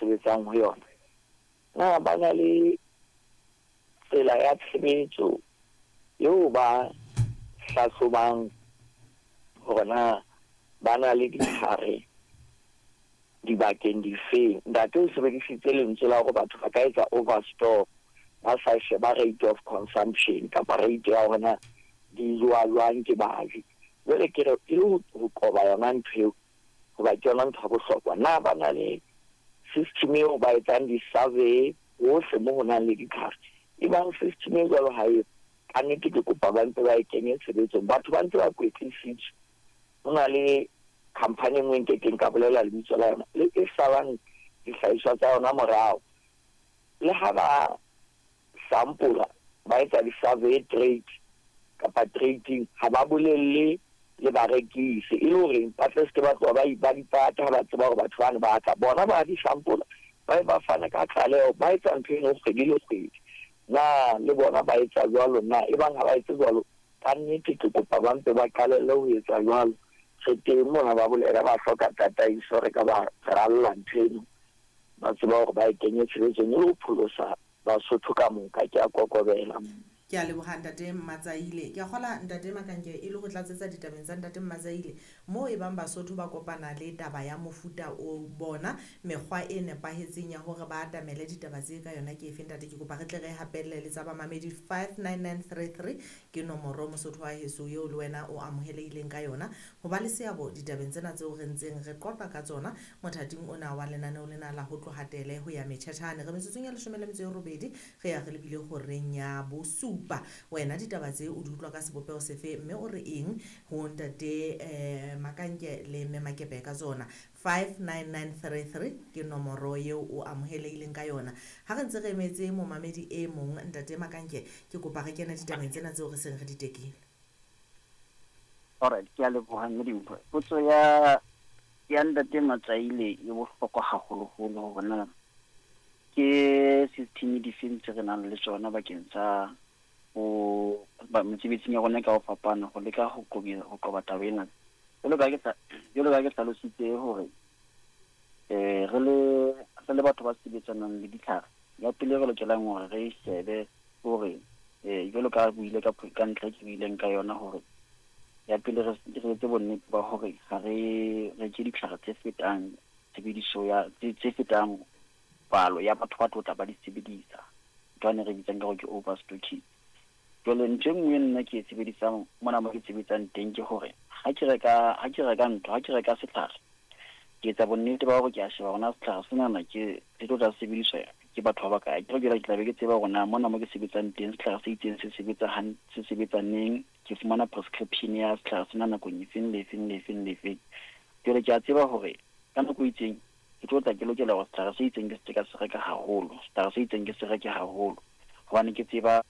Sebetsang ho yona? Na ba na le tsela ya tshebetso eo ba hlahlobang hore na ba na le ditlhare dibakeng difeng? Ntate o sebedisitse lentswe la hore batho ba ka etsa overstock ba sa sheba rate of consumption kapa rate ya hore na di jowa jwang ke baji. Jwale ke re e le ho qoba yona ntho eo, hoba ke yona ntho ya bohlokwa. Na ba na le system eo ba etsang di-survey hohle mo ho nang le ditlhare? Ebang system e jwalo ha eyo, kannete ke kopa ba mpe ba e kenye tshebetsong. Batho ba ntse ba kwetlisitswe. Ho na le company e nngwe nkekeng ka bolela lebitso la yona, le e salang dihlahiswa tsa yona morao. Le ha ba sampola, ba etsa di-survey trade kapa trading, ha ba bolelle le barekisi e le hore ba tle seke ba tloha ba ba di pata ha ba tseba hore batho bane ba tla. Bona ba di sampola, ba ba fana ka tlaleho, ba etsa ntho eno kgwedi le kgwedi. Na le bona ba etsa jwalo na? Ebang ha ba etse jwalo, kannete ke kopa ba mpe ba qalelle ho etsa jwalo. Re teng mona ba bolela ba hloka tataiso, re ka ba ralla ntho eno, ba tseba hore ba e kenye tshebetsong e le ho pholosa Basotho ka moka. Ke a kokobela. Ke a leboha Ntate Mmatsaile. Ke a kgola Ntate Makanke e le ho tlatsetsa ditabeng tsa Ntate Mmatsaile, moo e bang Basotho ba kopana le taba ya mofuta o, bona mekgwa e nepahetseng ya hore ba atamele ditaba tse ka yona ke efe Ntate? Ke kopa re tle re hapelle le tsa bamamedi 59933 ke nomoro Mosotho wa heso eo le wena o amohelehileng ka yona ho ba le seabo ditabeng tsena tseo re ntseng re qoqa ka tsona mothating ona wa lenaneo lena la ho tloha tele ho ya metjhetjhane. Re metsotsong ya 18 re ya re lebile horeng ya bosupa. Wena ditaba tse o di utlwa ka sebopeho sefe mme o re eng ho Ntate Makanke le Mme Makepe ka tsona? 59933 ke nomoro eo o amohelehileng ka yona. Ha re ntse re emetse momamedi e mong, Ntate Makanke, ke kopa re kene ditabeng tsena tseo re seng re di tekile. Alright, ke a leboha mme Dimpho. Potso ya ya Ntate Matsaile e bohlokwa haholoholo hore na ke system difeng tse re nang le tsona bakeng sa ho ba mesebetsing ya rona ka ho fapana ho leka ho qoba ho qoba taba ena. Jwalo ka ke jwalo ka ke hlalositse hore re le re le batho ba sebetsanang le ditlhare, ya pele re lokelang hore re e shebe hore jwalo ka buile ka ka ntlha e ke buileng ka yona hore ya pele re re etse bonnete ba hore ha re reke ditlhare tse fetang tshebediso ya tse fetang palo ya batho ba tlo tla ba di sebedisa, ntho yane re bitsang ka hore ke overstocking. Jwale ntho e nngwe nna ke e sebedisang mona mo ke sebetsang teng ke hore ha ke reka ha ke reka ntho ha ke reka setlhare, ke etsa bonnete ba hore ke a sheba hore na setlhare senana ke se tlo tla sebediswa ke batho ba bakae. Akere jwale ke tla be ke tseba hore na mona mo ke sebetsang teng setlhare se itseng se sebetsa se sebetsa neng, ke fumana prescription ya setlhare sena nakong efeng le efeng le efeng le efeng. Jwale ke a tseba hore ka nako e itseng ke tlo tla ke lokela hore setlhare se itseng ke se ke ka se reka haholo, setlhare se itseng ke se reke haholo hobane ke tseba.